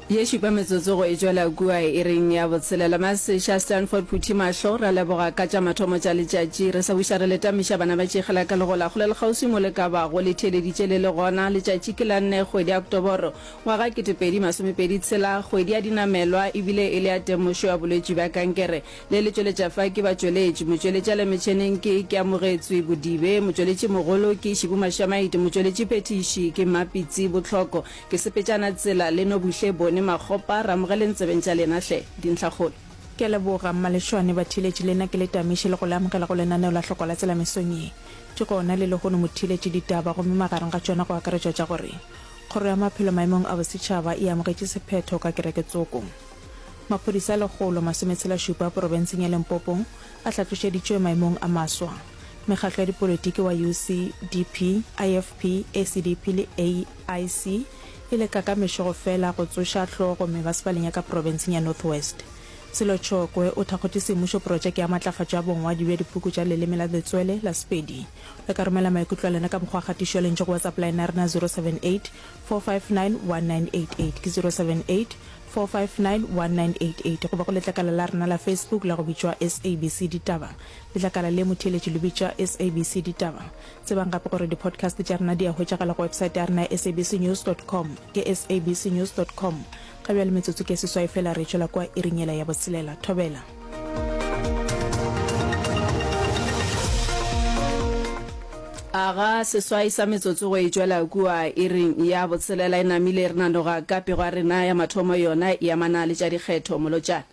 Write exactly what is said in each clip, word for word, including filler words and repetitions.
Ye šupa metsotso go e tšwela kua iring ya botshelela. Maseša Stanford Phuthi Mahlo, ra leboga ka tša mathomo tša letšatši. Re sa buša re le tamiša bana ba tšegela ka legola kgole le kgauswi mo le ka bago le theeleditše le le gona. Letšatši ke la nne kgwedi ya Oktoboro ngwaga ketepedi masomepedi tshela, kgwedi ya dinamelwa ebile e le ya temošo ya bolwetši bja kankere. Le le tšweletša fa ke batšweletši. Motšweletši a le metšheneng ke Keamogetswe Bodibe, motšweletši mogolo ke Šibu Mašamaite, motšweletši phethiši ke Mmapitsi Bohloko. Ke sepetšana tsela le Nobuhle Bone Makgopa, re amogeleng tsebeng tša lena hle. Dintlhakgolo. Ke a leboga, Mmalešwane, batheeletši le nna ke le tamiše le go le amogela go lenaneo la Hlokwa la Tsela mesong ye. Di gona le lehono motheeletši ditaba gomme magareng ga tšona go akaretšwa tša gore Kgoro ya Maphelo maemong a bosetšhaba e amogetše sephetho ka kereke tsoko. Maphodisa a lekgolo masometshela šupa porofenseng ya Limpopo a hlatlošeditšwe maemong a maswa. Mekgatlo ya dipolitiki wa U C D P, I F P, A C D P le A I C e leka ka mešego fela go tsoša hlogo mebasepaleng ya ka porofenseng ya North West. Sello Chokoe o thakgotše semmušo porojeke ya matlafatšo ya bongwadi bja dipuku tša leleme la letswele la Sepedi. Le ka romela maikutlo a lena ka mokgwa wa kgatišo ya lentšu go WhatsApp line ya rena zero seven eight four five nine one nine eight eight ke zero seven eight four five nine one nine eight eight goba go letlakala la rena la Facebook la go bitšwa S A B C Ditaba. Letlakala le motheeletši le bitšwa S A B C Ditaba. Tsebang gape gore di-podcast tša rena di a hwetšagala go website ya rena ya sabcnews dot com ke sabcnews dot com. Ga bjale metsotso ke seswai fela re tšwela kwa iring yela ya botshelela. Thobela. Aga seswai sa metsotso go e tšwela kua iring ya botshelela e namile re nanoga ka pego ya rena ya mathomo yona e amana le tša dikgetho molotšana.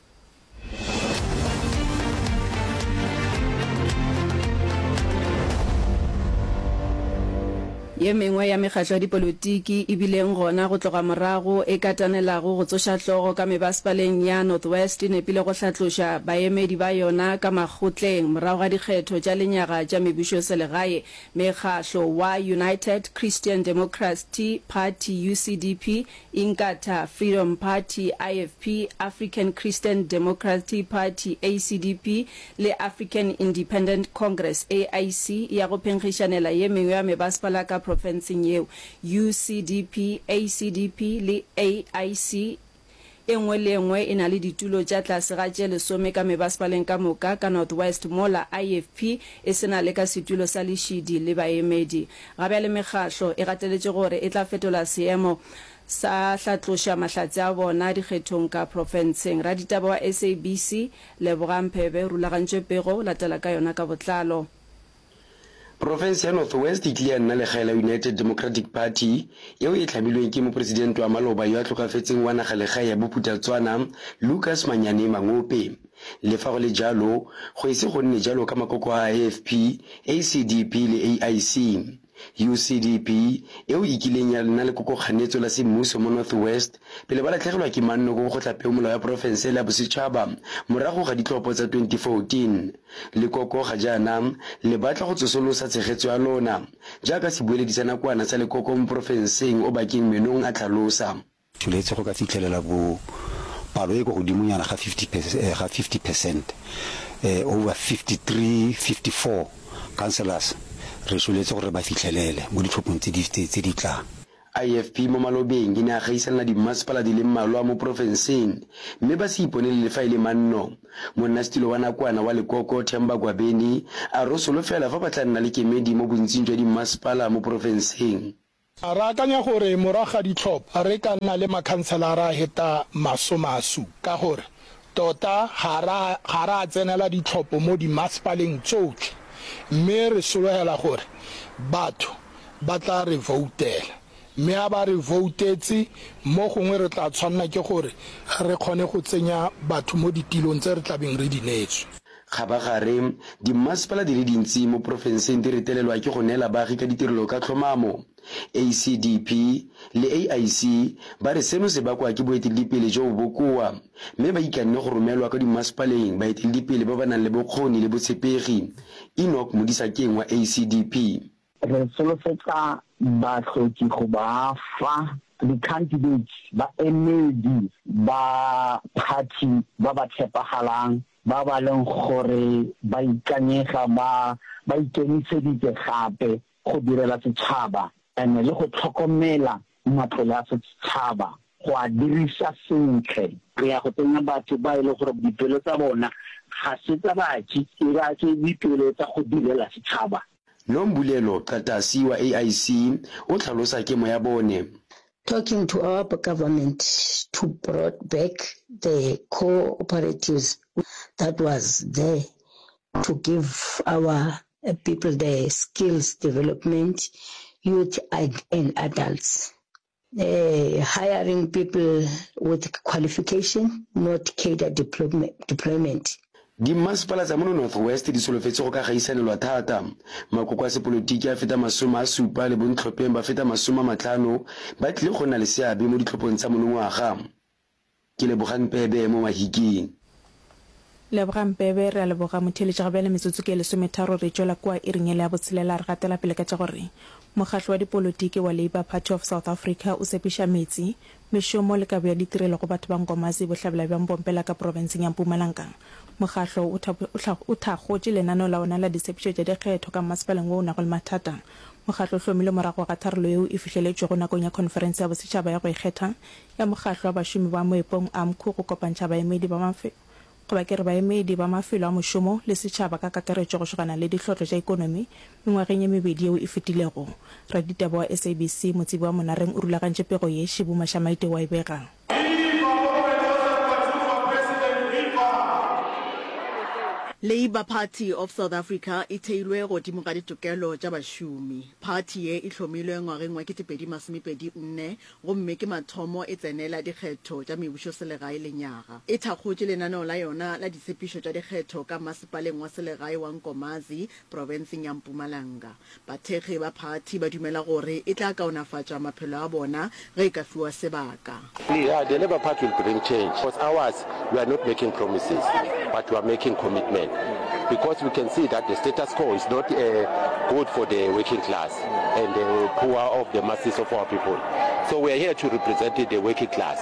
Ye mengwe ya mekgatlo ya dipolotiki e bileng gona go tloga morago e katanelago go tsoša hlogo ka mebasepaleng ya North West e nepile go hlatloša baemedi ba yona ka makgotleng morago ga dikgetho tša lenyaga tša mebušoselegae. Mekgahlo wa United Christian Democracy Party, U C D P, Inkatha Freedom Party, I F P, African Christian Democracy Party, A C D P, le African Independent Congress, A I C, ya go phenkgišanela ye mengwe ya mebasepala ka profenseng yeo. U C D P, A C D P le A I C e nngwe le e nngwe e na le ditulo tša tlase ga tše lesome ka mebasepaleng ka moka ka North West mola I F P e se na le ka setulo sa lešidi le baemedi. Ga bjale mekgahlo e gateletše gore e tla fetola seemo sa hlatloša mahlatse a bona dikgethong ka profenseng. Raditaba wa S A B C, Lebogang Phebe, o rulagantše pego, latela ka yona ka botlalo. Profense ya North West e tlile ya nna legae la United Democratic Party, yeo e hlamilweng ke mopresidente wa maloba yo a hlokafetseng wa nagalegae ya Bophuthatswana, Lucas Manyane Mangope. Le fa go le jalo, go ese go nne jalo ka makoko a A F P, A C D P le A I C. U C D P, eo e kileng ya nna lekokokganetso la semmuso mo North West, pele ba latlhegelwa ke manno ko kgotlapeomolao ya profense le ya bosetšhaba morago ga ditlhopho tsa twenty fourteen. Lekoko ga jaana le batla go tsosolosa tshegetso ya lona, jaaka sebueledi sa nakwana sa lekoko mo porofenseng Obakeng Menong a tlhalosa. Tsholetse go ka fitlhelela bo palo e ko godimonyana ga fifty ga fifty percent, over fifty three, fifty four councillors re soletse gore re ba fitlhelele mo ditlhophong tse di tse di tlang. I F P mo malobeng e ne ya gaisanela dimmasepala di le mmalwa mo porofenseng mme ba se iponele le fa e le manno. Monnasetulo wa nakwana wa lekoko Themba Gwabeni a re o solofela fa ba tla nna le kemedi mo bontsing jwa dimmasepala mo porofenseng. Re akanya gore morago ga ditlhopho re ka nna le makhanselara a heta masome a supa ka gore tota ga ra ga ra tsenela ditlhopho mo dimasepaleng tsotlhe mme re sologela gore batho ba tla re voutela mme a ba re voutetse mo gongwe re tla tshwanela ke gore re kgone go tsenya batho mo ditilong tse re tlabeng re di neetswe. Kgabagare, dimmasepala di le dintsi mo porofenseng di retelelwa ke go neela baagi ka ditirelo ka tlhomamo. A C D P le A I C ba re seno se bakwa ke boeteledipele jo bo bokoa, mme ba ikanne go romelwa kwa dimmasepaleng baeteledipele ba ba nang le bokgoni le botshepegi. Enoch Modisakeng wa A C D P. Re solofetsa bahloki go ba fa di-candidates, baemedi ba party ba ba tshepagalang, ba ba leng gore ba ikanyega, ba ba ikemiseditse gape go direla setšhaba and le go tlhokomela matlole a setšhaba. go a diriša sentle. Re ya go tsenya batho ba e lego gore dipelo tsa bona ga se tsa baji, e ba ke dipelo tsa go direla setšhaba. Nombulelo Qatasi wa A I C o hlalosa kemo ya bone. Talking to our government to brought back the co-operatives that was there to give our people the skills development, youth and adults. Hiring people with qualification, not cadre deployment. Dimmasepala tsa mono North West di solofetše go ka gaisanelwa thata. Makoko a sepolotiki a feta masome a supa le bontlhopheng ba feta masome a mahlano ba tlile go nna le seabe mo ditlhophong tsa monongwaga. Ke Lebogang Pebe mo Mahikeng. Lebogang Pebe, Re a leboga motheeletši. Ga bjale metsotso ke e lesometharo re tšwela kua iring yela ya botshelela. Re gatela pele ka tša gore mokgatlo wa dipolotiki wa Labour Party of South Africa o tshepiša meetse, mešomo le kabo ya ditirelo go batho ba Nkomazi, bohlabela bja Mpompela ka profenseng ya Mpumalanga. Mokgatlo o o thakgotše lenaneo la wona la ditshepišo tša dikgetho ka mmasepaleng wo o nago le mathata. Mokgatlo o hlomilwe morago ga tharollo yeo e fihleletšwego nakong ya khonferense ya bosetšhaba ya go ikgetha ya Mokgatlo wa Bašomi ba Moepong, AMCU, go kopantšha baemedi ba goba ke re baemedi ba mafelo a mošomo le setšhaba ka kakaretšo go šogana le dihlotlo tša ekonomi mengwageng ye mebedi yeo e fetilego. Raditaba wa S A B C Motsebi wa Monareng o rulagantše pego ye, Šibu Mashamaite o a e bega. Labour Party of South Africa e theilwe godimo ga ditokelo tša bašomi. Phathi ye e hlomilwe ngwageng wa ketepedi masomepedi nne gomme ke mathomo e tsenela dikgetho tša mebušoselegae lenyaga. E thakgotše lenaneo la yona la ditshepišo tša dikgetho ka masepaleng wa selegae wa Nkomazi, profenseng ya Mpumalanga. Bathekgi ba phathi ba dumela gore e tla kaonafatša maphelo a bona ge e ka fiwa sebaka. Yeah, the Labour Party will bring change because ours, we are not making promises, but we are making commitment because we can see that the status quo is not uh, good for the working class and the poor of the masses of our people. So we are here to represent the working class,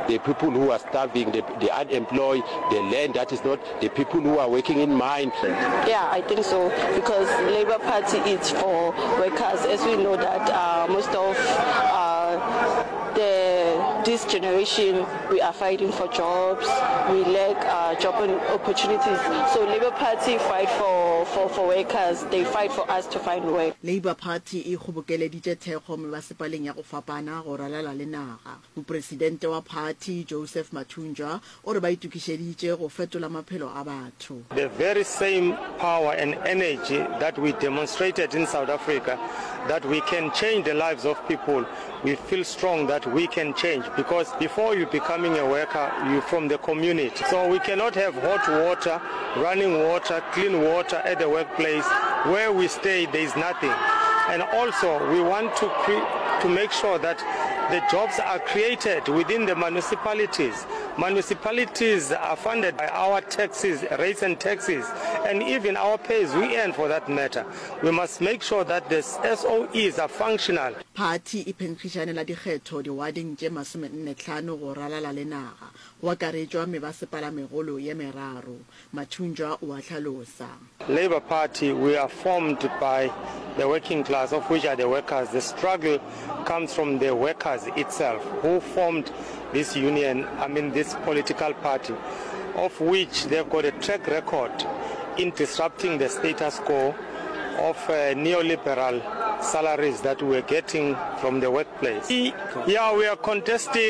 the people who are starving, the, the unemployed, the land that is not, the people who are working in mine. Yeah, I think so, because Labour Party is for workers, as we know that uh, most of uh, the this generation, we are fighting for jobs, we lack uh, job opportunities. So Labour Party fight for, for, for workers, they fight for us to find work. Labour Party e kgobokeleditše thekgo mebasepaleng ya go fapana go ralala le naga. Mopresidente wa phathi, Joseph Mathunjwa, o re ba itokišeditše go fetola maphelo a batho. The very same power and energy that we demonstrated in South Africa, that we can change the lives of people, we feel strong that we can change, because before you becoming a worker, you're from the community. So we cannot have hot water, running water, clean water at the workplace. Where we stay, there is nothing. And also, we want to, cre- to make sure that the jobs are created within the municipalities. Municipalities are funded by our taxes, rates and taxes, and even our pays we earn for that matter. We must make sure that the S O Es are functional. Phathi e phenkgišanela dikgetho diwadeng tše masomenne hlano go ralala le naga, go akaretšwa mebasepalamegolo ye meraro. Mathunjwa o a hlalosa. Labour Party, we are formed by the working class, of which are the workers. The struggle comes from the workers itself, who formed this union, I mean this political party, of which they've got a track record in disrupting the status quo of uh, neoliberal salaries that we're getting from the workplace. Yeah, we are contesting